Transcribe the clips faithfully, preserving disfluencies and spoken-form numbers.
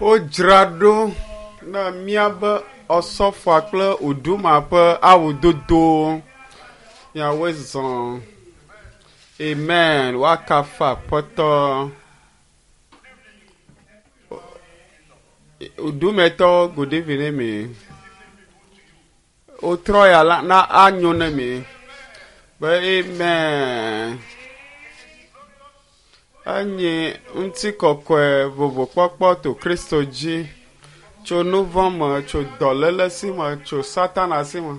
Wodzra ɖo na míabe Osɔfoa kple Uduma ƒe awudodo. Miawoe zɔ. Amen. Woakafu Aƒetɔ. Udumetɔwo, good evening ne mi. Wotrɔ ya la na anyo ne mi. Be amen. Enye ŋutikɔkɔe vovokpɔkpɔ to Kristo dzi tso nu vɔ̃ me, tso dɔléle si me, tso Satana si me,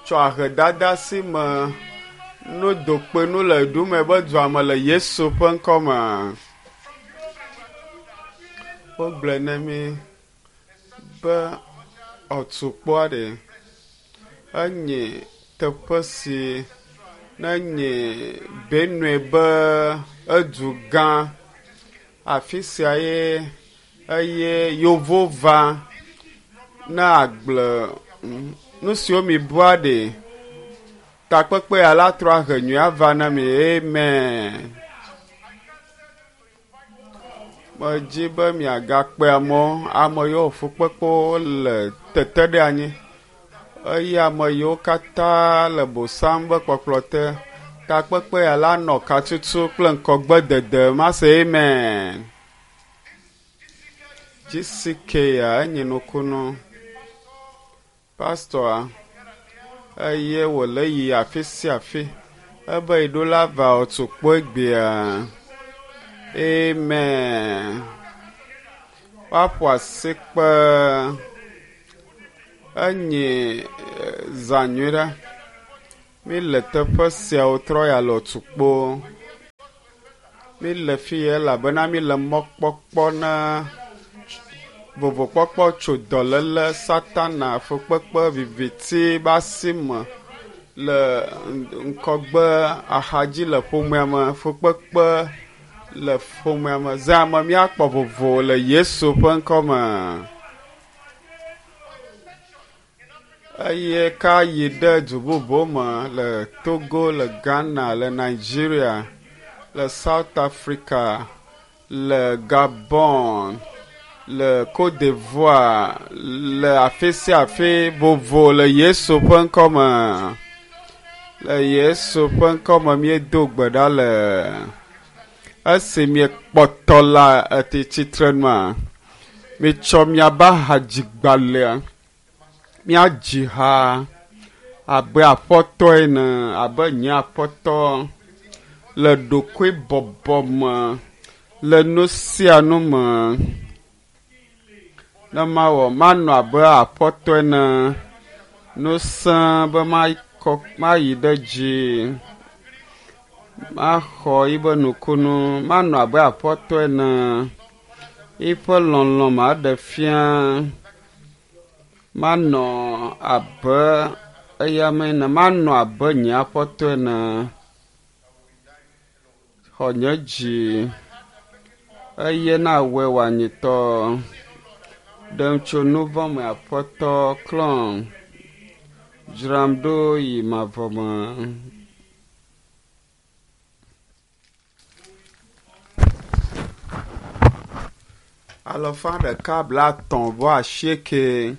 tso ahedada si me, no dokpenu le ɖume be dua me le Yesu ƒe ŋkɔ me. Wogblɔe ne mi be ɔtukpoa ɖe enye teƒe si ne nye Benue be edu gã. Afi sia ye eye yevo va na agble nu siwo mi bua ɖe takpekpe ya la trɔ ahe nyui ava na mi. Amen. Medzi be miagakpe amewo, ame yiwo fukpekpewo le tete ɖe anyi eye ame yiwo katã le bosam ƒe kpɔkplɔ te. Takpekpe ya la nɔ katutu kple ŋkɔgbedede. Mase amen. GCK ya enye nukunu. Pastor eye wòle yi afi sia afi. Ebe yiɖo la va otukpo egbea. Amen. Woaƒo asikpe. Enye zã nyui ɖe. Mi le teƒe sia wotrɔ ya le otukpo. Mi le fi ya elabena mi le mɔkpɔkpɔ na vovokpɔkpɔ tso dɔléle, Satana, fukpekpe, viviti be asi me le ŋkɔgbe axadzi le ƒomea me, fukpekpe le ƒomea me. Zã me míakpɔ vovo le Yesu ƒe ŋkɔ me. Eye ka yi ɖe du bubu me le Togo, le Ghana, le Nigeria, le South Africa, le Gabon, le Côte d'Ivoire, le afi sia afi vovo le Yesu ƒe ŋkɔ me. Le Yesu ƒe ŋkɔ me míedo gbe ɖa le esi miekpɔtɔ le tsitre nua, mitsɔ miabe hadzigbalẽa míadzi ha abe aƒetɔ ene, abe nye aƒetɔ le ɖokuibɔbɔ me, le nu sia nu me. Ne mawɔ manɔ abe aƒetɔ ene, nusẽ be makɔ mayi ɖe dzi, maxɔ yibe nukunu, manɔ abe aƒetɔ ene, yiƒe lɔlɔ̃ maɖe fia, manɔ abe eya me ene, manɔ abe nye aƒetɔ ene. Xɔ nye dzi eye na wɔe wòanyitɔ. Ɖem tso nu vɔ̃ me aƒetɔ klɔm. Dzram ɖo yi mavɔ me. Alafa ɖeka bla atɔ̃ vɔ asieke.